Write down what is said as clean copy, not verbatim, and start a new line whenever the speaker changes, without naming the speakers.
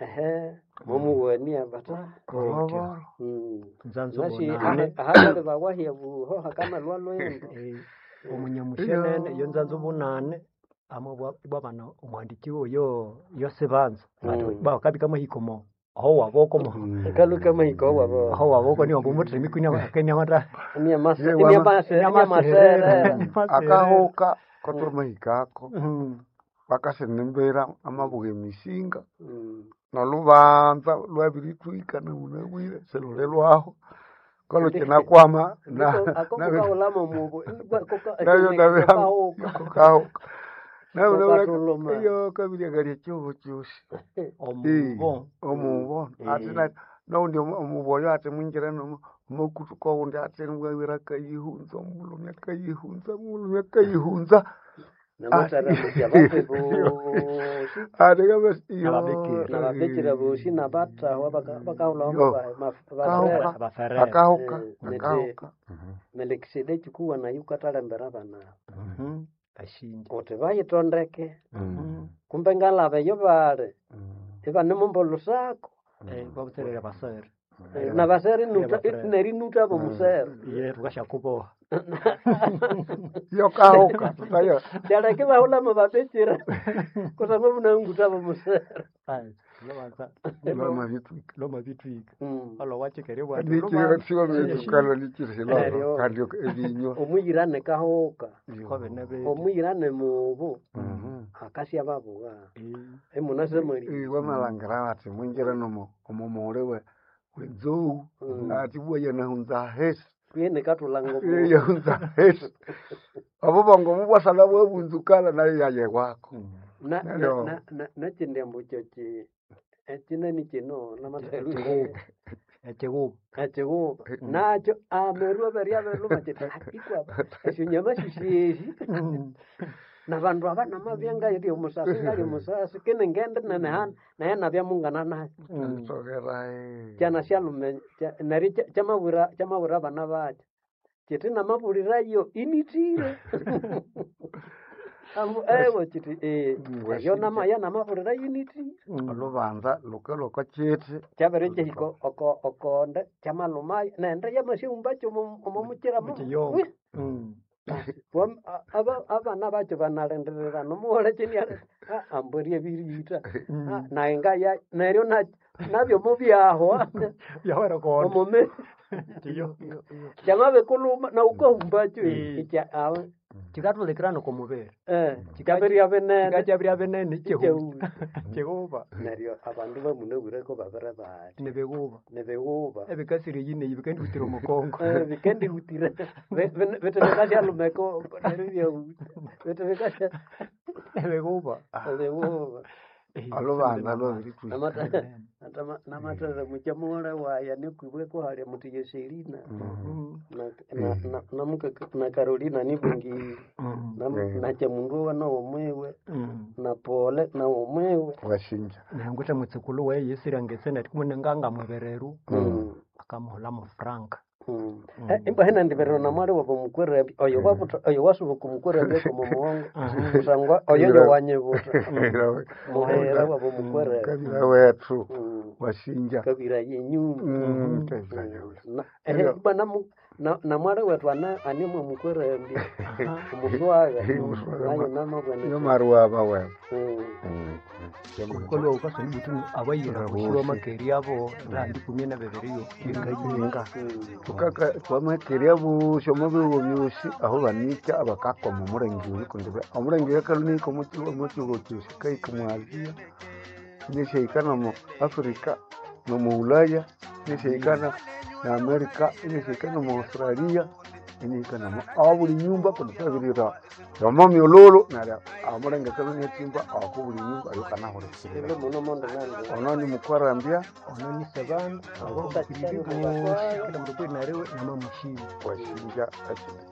Ehe, momuwania bata.
Oloboro.
Nzanzo
Nasi
bonane.
ahali bawahya buho hakanalwa lwendo.
Omunyamushenene yo nzanzo bunane amwe bwabana omuhandiki oyo yosibanza bakabika mahiko mo aho waboko mo
Kaluka mahiko wabo.
aho waboko niyo mbumuthemi kwini amata
Ni
Ye, wama-
amaserera.
Akahuka kotomahikako bakasinembera amabuga emisinga nolubanza lwabirithwika namunabwire siluli lwaho kolukinakwama
Akokukaulama mubu.
nabyo
Kahuka.
kahuka
Kokatuluma.
iyo kabiryangalya kyobo kyosi
omubo
omubo ati naundi omubo oyo ati mwingira nomukutu kowundi ati mwawira akayihunza omulhume akayihunza omulhume akayihunza
Namataramusia bape bosi.
ati kabasi iyo
Nababikira.
Nababikira bosi nabatahwa bakahulamo
Yo.
basera.
abaferere
akahuka
Neti-
akahuka
Melkisedeki kuwa nayo katalembera bana.
ashinje
Uti bayitondeke. Kumbe ngalaba eyo bali. Ibanemumba olusako.
babuterere abasere
Nabasere nuta
Nabasere.
nerinuta bomusere.
ye tukashakuboha
iyo kahuka tutayo
Kyaleke bahulamo babikira. Kusangwa bunanguta bomusere.
lwamabithwika
lomabithwika alowachekere
nikirisiwamethukalo nikirisilolo kandi ebinywa
Omuyirane kahuka.
bwabene
Omuyirane mubu. Akasya babuga. Emunasemali.
wamalhangira bati mwingire nomo omumuli wenzou ati bwa yanahunza hesi
Kwene katulanga omu.
yahunza hesi obubongo mubwasala bwabunzukala nayo yayewako
Na na
Neryo-
na na nakindi ambu kyo ki ekinani kino namathalu
ekiguba
ekiguba nakyo ameru aberya beluma kiti ikwa esyo nyama sisyeshi nabandu aba namabya ngali omusasi ngali omusasi kini ngende nenehana naye nabya mungana nayo
sogera
kyana syalume neryo kyamabwira kyamabwira abana bakyo kiti namabulirayo initire ambu ewe kiti eyo namaya namabulirayo initire
olubanza lukalwako kiti
kyabere kyahika oko okonde kyamalumayo nende yamasyahumbakyo omo mukira
Mukiyonga.
Abana bakyo banalindirira nomughole kyini ambweri ebiriyitha naye ngaya neryo nabyo mubyahwa
yawera konde
omume kyamabikuluma nawukahumbakyo ikya awe
chikathulikirana okomubiri
kyabirya binene
chikakyabirya binene
Kyehuma.
kiguba
neryo abandu bamunabwireko babiri bati
nibiguba
nibighuba
ebikasire yineyi bikandihutira omukongo
vikendihutire vitu vikashalumeko neryo vitu vikasha
ebiguba
bighuba
olubanza lwabirithwika
namathere mukya mughole waya nikwibwe kuhalya muti Yoselina na Carolina nibungiri nakyamundu owa nawomwiwe na Pole nawomwiwe
washinja
nengwithe mwitsikulu waye yisirya neti kumene ngangamwebereru akamuhula mu frank
imba ndiberero namwali wabo mukwerembe oyo wabuta oyo wasubuka omukwerembe komo muwongo kusangwa oyo yowanyibuta muhera wabo mukwerembe
kabira wethu washinja
kabira yenyumba
kabira yewe
Na- ehe, ibwa namwali wetu animwe mukwerembe omuswaga nayo namabwana
yo maruaba wewe
kolwa ukasoni butu abayira kushiwa makeri abo randi kumie na beberiyo
inga tukaka twamakeria busyo mubigo byosi aho banika abakakoma omurenge oyu kundi omurenge oyu akalunika omukigo kyosi kaika mu Asia inishahika nomu Africa nomu Ulaya inishahika na America inishahika nomu Australia inihika nomu abuli nyumba kundi twabirira yomo myololo neryo omurenge akalunika ako buli nyumba ayo kanahulekirira
ilo muno mondo nandi
ono ni mukwarambya
ono ni sebana abo bakiri bosi kila mndu kwinariwe namamushima
washinja ekindi